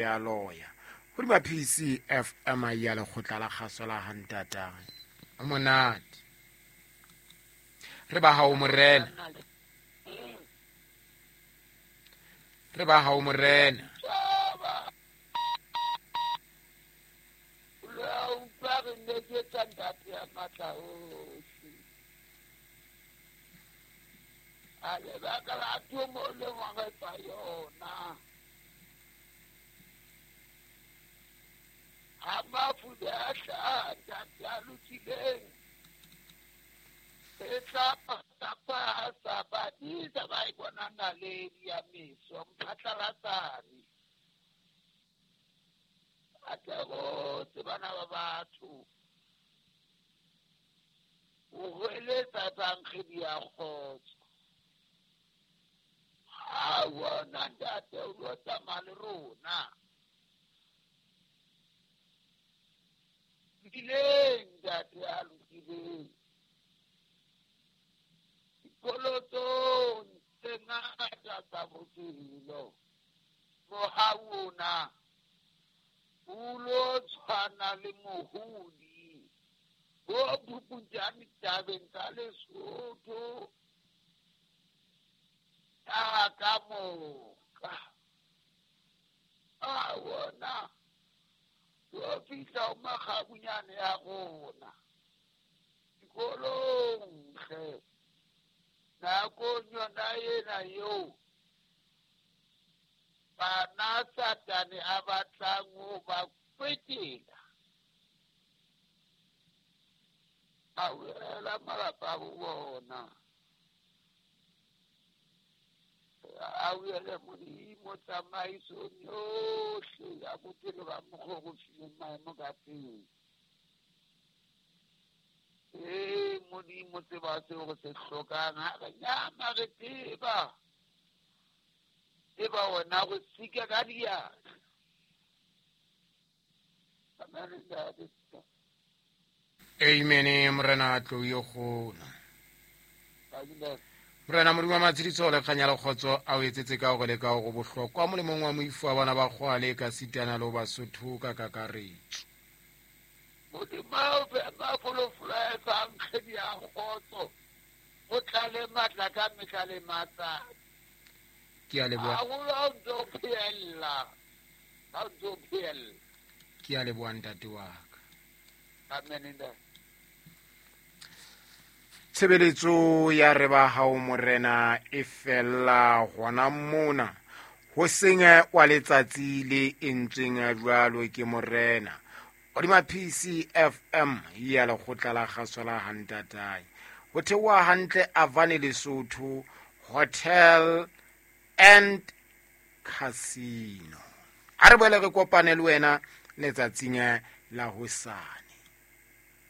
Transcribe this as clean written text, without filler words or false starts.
Ya loya hodima PCFM ya lekgotla la kgaso la hantatang o monate re ba hao morena, re ba hao morena. A lebaka la thomo le ngwagetsa yona ha mafu a hlaha ntate a lokileng e tla pasa badisa ba e bona naledi ya meso mphatlalatsane a tle botse bana ba batho o hweletsa tsankgedi ya kgotso. Ha bona ntate o lo tsamaya le rona lokileng ntate a lokileng dikolotong tse ngata tsa bophelo mohau ona o lo tshwana le mohodi bo phuputjane tabeng tsa Lesotho ka moka. A bona yo fihla o makgabunyane ya rona dikolong hle nakong yona ena eo bana Satane a batlang ho ba kwetela a wela malapa a bona a wele Modimo tsamaisong yohle ya bophelo ba mokgwa o fileng maemo ka teng. Ee Modimo tseba seo re se hlokang ha re nyama re tseba tseba wena go sika ka diatla. Amen. Amen. Morena tlo yo gona. Morena Modimo wa matshediso le kganya le kgotso a o etsetse ka hore le ka hore bohlokwa molemong wa moifo wa bana ba kgwale ka sitana le ho Basotho ka kakaretso. Modimo o fe mafolofolo a etsang kgedi ya kgotso o tlale matla ka mehla le matsatsi. Ke a leboha. Haholo ha o ntso o phehella. Ha o ntso o phehella. Ke a leboha ntate wa ka. Amen. Tshebeletso ya re ba hao morena e fella hona mona ho seng wa letsatsi le entsweng jwalo ke morena hodima PCFM ya lekgotla la kgaso la hantatai ho theoha hantle Avane Lesotho Hotel and Casino. Ha re boele re kopane le wena letsatsing la hosane.